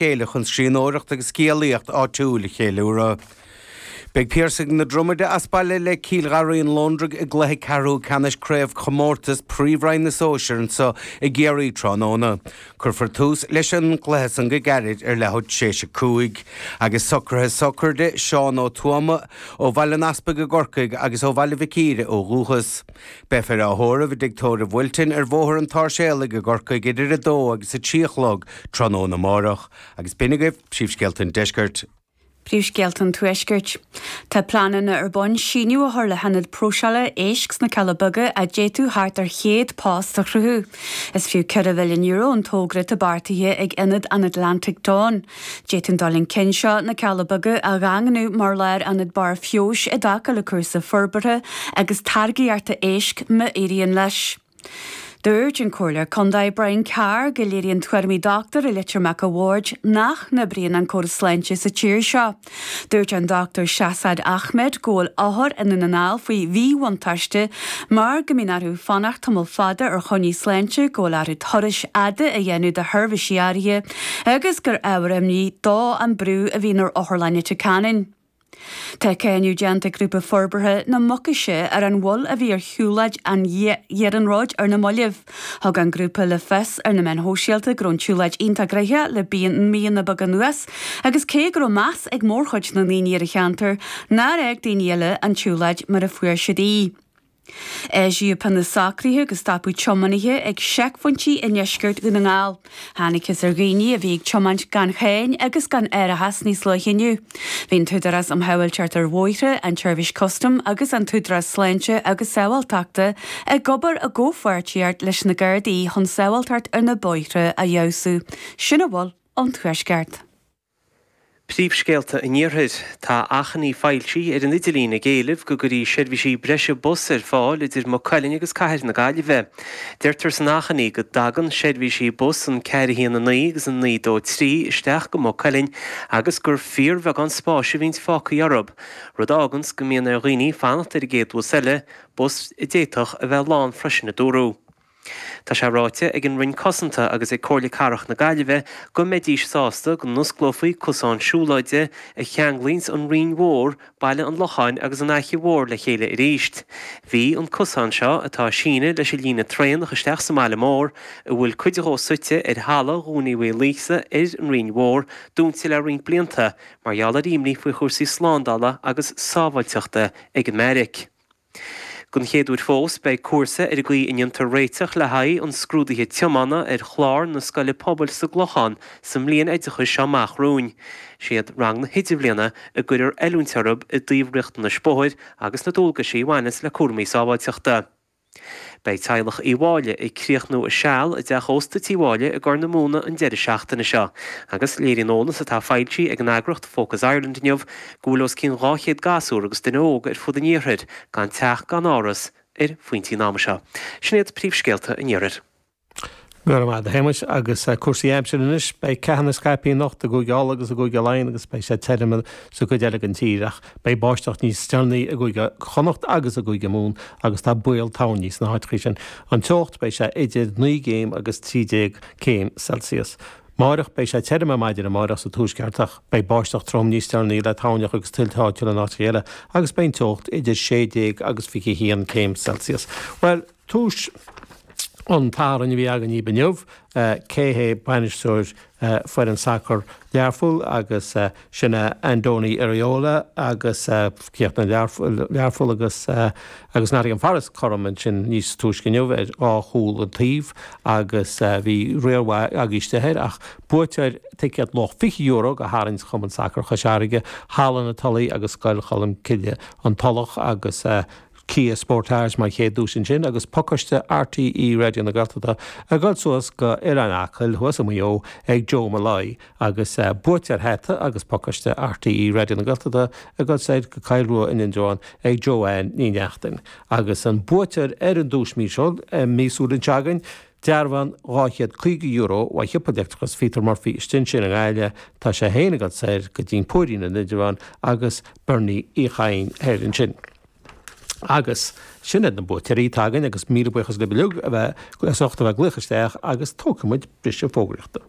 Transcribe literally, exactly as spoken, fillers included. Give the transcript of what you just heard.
chéile chun scríbhneoireacht agus scéalaíocht áitiúil a cheiliúradh. Beidh Piarsaigh na Dromaide as baile le Cill Gharraí an Lóndraigh i gcluiche ceathrú ceannais craobhchomórtas Príomhroinn na Sóisear anseo i gCiarraí tráthnóna. Cuirfear tús leis an gcluiche san go gairid ar leathuair tar éis a cúig. Agus socruithe sochraide Seán Ó Tuama ó Bhaile an Easpaig i gCorcaigh agus ó Bhaile Mhic Íre ó dhúchas. Beifear á thórramh i dtigh tórraimh Wilton ar Bhóthar an tSáirséalaigh i gCorcaigh idir a dó agus a trí a chlog tráthnóna amárach. Agus b'in agaibh príomhscéalta an deiscirt. Príomhscéalta an Tuaiscirt. Tá pleananna ar bun síneadh a chur le hionad próiseála éisc sna Cealla Beaga a d'fhéadfadh thart ar chéad post a chruthú. Is fiú ceithre mhilliún euro an togra atá beartaithe ag Ionad an Atlantic Dawn. D'fhéadfadh an dul chun cinn seo na Cealla Beaga a dhaingniú mar lárionad barr feabhais i dtaca le cúrsaí forbartha agus táirgeachta éisc má éiríonn leis. Dúirt an Comhairleoir Contae Brian Carr go léiríonn tuairimí dochtúir i Leitir Mac a' Bhaird nach n-oibríonn an córas sláinte sa tír seo. Dúirt an Dr Shahzad Ahmed go bhfuil othair i nDún na nGall faoi mhíbhuntáiste mar go mbíonn orthu fanacht tamall fada ar choinní sláinte go bhfuil orthu turais fhada a dhéanamh do sheirbhísí áirithe agus gur ábhar imní dó an brú a bhíonn ar Otharlann Leitir Ceanainn. Tá cáineadh déanta ag grúpa forbartha na Mucaise ar an mhoill a bhí ar shiúlóid an iarnróid ar na mallaibh. Thug an grúpa le fios ar na meáin shóisialta go raibh an tsiúlóid iontach gnoitheach le míonna beaga anuas, agus cé go raibh meas ag mórchuid na ndaoine ar an cheantar, nár fhág daoine eile an tsiúlóid mar a fuair siad í. Eisíodh na socruithe go stopadh tiománaithe ag seicphointí i ndeisceart Dhún na nGall. Thángthas ar dhaoine a bhí ag tiomáint gan cháin agus gan árachas níos luaithe inniu. Bhí an tÚdarás um Shábháilteacht ar Bhóithre, an tSeirbhís Custam agus an tÚdarás Sláinte agus Sábháilteachta ag obair i gcomhpháirtíocht leis na Gardaí chun sábháilteacht ar na bóithre a fheabhsú. Sin a bhfuil ón Tuaisceart. Príomhscéalta an Iarthair. Tá achainí foilsithe ar an idirlíon ag éileamh go gcuirfí seirbhísí breise bus ar fáil idir Maigh Cuilinn agus Cathair na Gaillimhe. Deirtear san achainí go dtagann seirbhísí bus an ceathair a haon a naoi agus an naoi dó trí isteach go Maigh Cuilinn agus gur fíorbheagán spáis a bhíonns fágtha orthu, rud a fháganns go mbíonn ar dhaoine fanacht ar an gcéad bhus eile, bus a d'fhéadfadh a bheith lán freisin a dúradh. Tá sé ráite ag an Roinn Cosanta agus ag Comhairle Cathrach na Gaillimhe go mbeidís sásta go n-osclófaí cosán siúlóide a cheanglaíonns an Rinn Mhór, Baile an Locháin agus an Fhaiche Mhór le chéile arís. Bhí an cosán seo, atá ag síneadh leis an líne traenach isteach sa mbaile mór, a bhfuil cuid dhó suite ar thalamh Dhún Uí Mhaoilíosa ar an Rinn Mhór, dúnta le roinnt blianta mar gheall ar imní faoi chúrsaí slándála agus sábháilteachta ag an mbeairic. Don chéad uair fós, beidh cúrsa ar an gcaoi a ndéantar réiteach le haghaidh an scrúdaithe tiomána ar chlár na Scoile Pobail sa gClochán sa mbliain oideachais seo amach romhainn. Siad rang na hIdirbhliana a gcuirfear oiliúint orthu i dtaobh riachtanais bóthair agus na dualgaisí a bhaineas le cúraimí sábháilteachta. Beidh teaghlach Uí Mháille ag críochnú a seal i dteach ósta Tí Mháille i gCorr na Móna an deireadh seachtaine seo agus léiríonn eolas atá foilsithe ag an eagraíocht Focus Ireland inniu go bhfuil os cionn dhá chéad gasúr agus duine óg ar fud an iarthair gan teach gan áras ar phointí an ama seo. Sin iad príomhscéalta an iarthair. Go raibh maith agat, a Shéamais, agus cúrsaí aimsire anois. Beidh ceathanna scaipthe anocht i gCúige Uladh agus i gCúige Laighean agus beidh sé tirim sa gcuid eile den tír ach beidh báisteach níos deireanaí i gCúige Chonnacht agus i gCúige Mumhan agus tá baol toirní sna háiteacha sin. An teocht, beidh sé idir naoi gcéim agus trí déag céim Celsius. Amáireach, beidh sé tirim ar maidin amáireach sa tuaisceart ach beidh báisteach trom níos deireanaí le toirneach agus tuilte áitiúla in áiteacha eile agus beidh an teocht idir sé déag agus fiche haon céim Celsius. Bhuel, tús an tSathairn a bhí againn inniu, cé hé bainisteoir foireann sacair Learpholl agus sin é Andoni Iraola agus chríochnaigh Learpholl agus agus Nottingham Forest cothrom ansin níos túisce inniu ar dhá chúl an taobh agus bhí riar mhaith agaibh istigh air ach buaiteoir ticéad luach fiche euro go tharraingt Chumann Sacair Chois Fharraige, Halla na Tulaí agus Scoil Cholmcille An Tulach agus Kia Sportage mar chéad duais ansin agus pacáiste RTÉ Raidió na Gaeltachta ag dul suas go Oileán Acaill thuas i Maigh Eo ag Joe Molloy agus buaiteoir hata agus pacáiste RTÉ Raidió na Gaeltachta ag dul soir go Coill Rua in Indreabhán ag Joanne Ní Neachtain agus an buaiteoir ar an duais míosúil míosúil anseo againn Dearbhán dhá chéad caoga euro ó shiopa leictreachais Peter Murphy istigh ansin i nGaillimh, tá sé féin ag dul soir go dtí an Púirín in Indreabhán agus Bernie Uí Chadhain thoir ansin. Agus sin iad na buaiteoirí atá againn agus míle buíochas libh uilig a bheith as ucht a bheith ag glaoch isteach agus tógfaidh muid briseadh fógraíochta.